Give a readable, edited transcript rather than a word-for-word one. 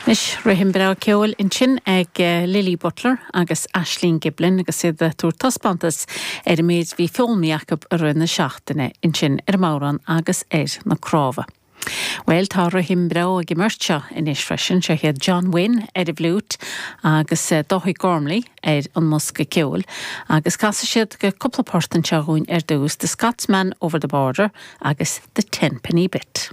Anois, rithim breá ceoil ansin ag Lily Butler agus Aisling Giblin agus iad ag tabhairt taispeántas ar an méid a bhí foghlamtha acu i rith na seachtaine ansin ar an mbodhrán agus ar na cnámha. Bhuel, tá rithim breá ag an mbeirt seo anois freisin, seo iad John Wynne ar an bhfliúit agus Dáithí Gormley ar an mbosca ceoil agus casfaidh siad cúpla port anseo dhúinn ar dtús, The Scotsman Over the Border agus The Tenpenny Bit.